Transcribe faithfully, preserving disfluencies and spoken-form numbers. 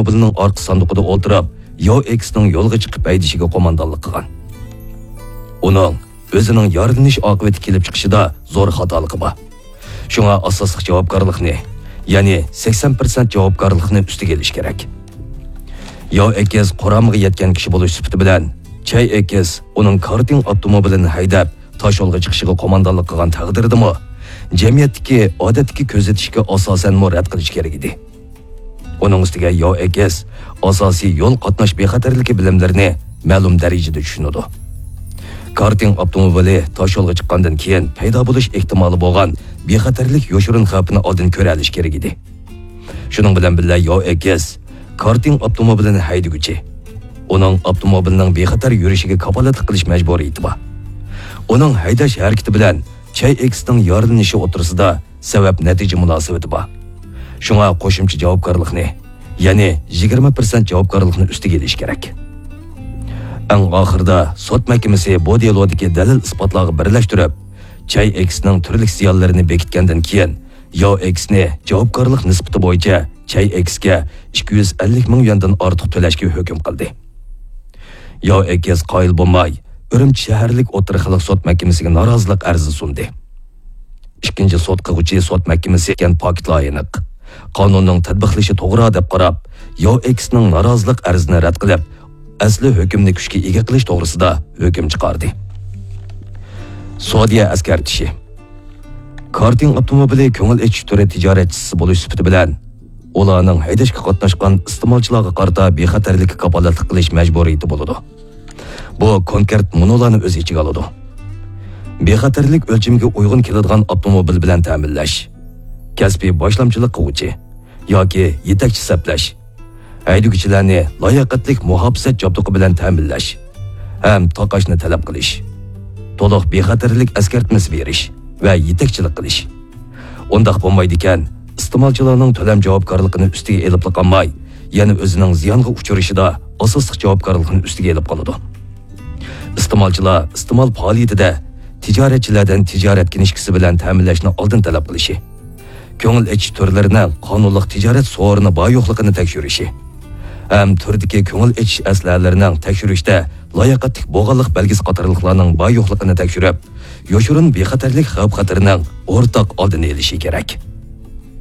ئاپتوموبىلىنىڭ ئارقا ساندۇقىدا ئولتۇرۇپ، ياۋ ئېكسنىڭ يولغا چىقىپ ھەيدىشىگە قوماندانلىق قىلغان. ئۇنىڭ ئۆزىنىڭ يارىلىنىش ئاقىۋىتى كېلىپ چىقىشىدا زور خاتالىقى بار. شۇڭا ئاساسلىق جاۋابكارلىقنى، يەنى سەكسەن پىرسەنت جاۋابكارلىقنى ئۈستىگە ئېلىش كېرەك. ياۋ ئېكس قۇرامىغا يەتكەن كىشى بولۇش سۈپىتى بىلەن، چەي ئېكس ئۇنىڭ كارتىڭ ئاپتوموبىلىنى ھەيدەپ، تاشيولغا چىقىشىغا قوماندانلىق قىلغان تەقدىردىمۇ، جەمئىيەتتىكى ئادەتتىكى كۆزىتىشكە ئاساسەنمۇ رەت قىلىش كېرەك ئىدى. ئۇنىڭ ئۈستىگە ياۋ ئېكس ئاساسىي يول قاتناش بىخەتەرلىكى بىلىملىرىنى مەلۇم دەرىجىدە چۈشىنىدۇ. كارتىڭ ئاپتوموبىلى تاشيولغا چىققاندىن كېيىن پەيدا بولۇش ئېھتىمالى بولغان بىخەتەرلىك يوشۇرۇن خەۋپىنى ئالدىن كۆرەلىشى كېرەك ئىدى. شۇنىڭ بىلەن بىللە، ياۋ ئېكس كارتىڭ ئاپتوموبىلىنى ھەيدىگۈچى ئۇنىڭ ئاپتوموبىلىنىڭ بىخەتەر يۈرۈشىگە كاپالەتلىك قىلىش مەجبۇرىيىتى بار. ئۇنىڭ ھەيدەش ھەرىكىتى بىلەن چەي ئېكسنىڭ يارىلىنىشى ئوتتۇرىسىدا سەۋەب-نەتىجە مۇناسىۋىتى بار. شۇڭا قوشۇمچە جاۋابكارلىقنى، يەنى يىگىرمە پىرسەنت جاۋابكارلىقنى ئۈستىگە ئېلىش كېرەك. ئەڭ ئاخىرىدا سوت مەھكىمىسى بۇ دېلودىكى دەلىل-ئىسپاتلارغا بىرلەشتۈرۈپ، چەي ئېكسنىڭ تۈرلۈك زىيانلىرىنى بېكىتكەندىن كېيىن، ياۋ ئېكسنى جاۋابكارلىق نىسبىتى بويىچە چەي ئېكسكە ئىككى يۈز ئەللىك مىڭ يۈەندىن ئارتۇق تۆلەشكە ھۆكۈم قىلدى. ياۋ ئېكس قايىل بولماي، ئۈرۈمچى شەھەرلىك ئوتتۇرا خەلق سوت مەھكىمىسىگە نارازىلىق ئەرزى سۇندى. ئىككىنچى سوت قىلغۇچى سوت مەھكىمىسى كەن پاكىتلار ئېنىق، قانۇننىڭ تەتبىقلىشى توغرا دەپ قاراپ، ياۋ ئېكسنىڭ نارازىلىق ئەرزىنى رەت قىلىپ، ئەسلى ھۆكۈمنى كۈچكە ئىگە قىلىش توغرىسىدا ھۆكۈم چىقاردى. سودىيە ئەسكەرتىشى. كارتىڭ ئاپتوموبىلى كۆڭۈل ئېچىش تۈرى تىجارەتچىسى بولۇش سۈپىتى بىلەن، ئۇلارنىڭ ھەيدەشكە قاتناشقان ئىستېمالچىلارغا قارىتا بىخەتەرلىككە كاپالەتلىك قىلىش مەجبۇرىيىتى بولىدۇ. بۇ كونكرېت مۇنۇلارنى ئۆز ئىچىگە ئالىدۇ: بىخەتەرلىك ئۆلچىمىگە ئۇيغۇن كېلىدىغان ئاپتوموبىل بىلەن تەمىنلەش، كەسپىي باشلامچىلىق قىلغۇچى ياكى يېتەكچى سەپلەش، ھەيدىگۈچىلەرنى لاياقەتلىك مۇھاپىزەت جابدۇقى بىلەن تەمىنلەش ھەم تاقاشنى تەلەپ قىلىش، تولۇق بىخەتەرلىك ئەسكەرتمىسى بېرىش ۋە يېتەكچىلىك قىلىش، ئۇنداق بولمايدىكەن، ئىستېمالچىلارنىڭ تۆلەم جاۋابكارلىقىنى ئۈستىگە ئېلىپلا قالماي، يەنە ئۆزىنىڭ زىيانغا ئۇچرىشىدا ئاساسلىق جاۋابكارلىقنى ئۈستىگە ئېلىپ قالىدۇ. ئىستېمالچىلار ئىستېمال پائالىيىتىدە تىجارەتچىلەردىن تىجارەت كىنىشكىسى بىلەن تەمىنلەشنى ئالدىن تەلەپ قىلىشى، كۆڭۈل ئېچىش تۈرلىرىنىڭ قانۇنلۇق تىجارەت سورۇنى بار-يوقلۇقىنى تەكشۈرۈشى ھەم تۈردىكى كۆڭۈل ئېچىش ئەسلىھەلىرىنىڭ تەكشۈرۈشتە لاياقەتلىك بولغانلىق بەلگىسى قاتارلىقلارنىڭ بار-يوقلۇقىنى تەكشۈرۈپ، يوشۇرۇن بىخەتەرلىك خەۋپ-خەتىرىنىڭ ئورتاق ئالدىنى ئېلىشى كېرەك.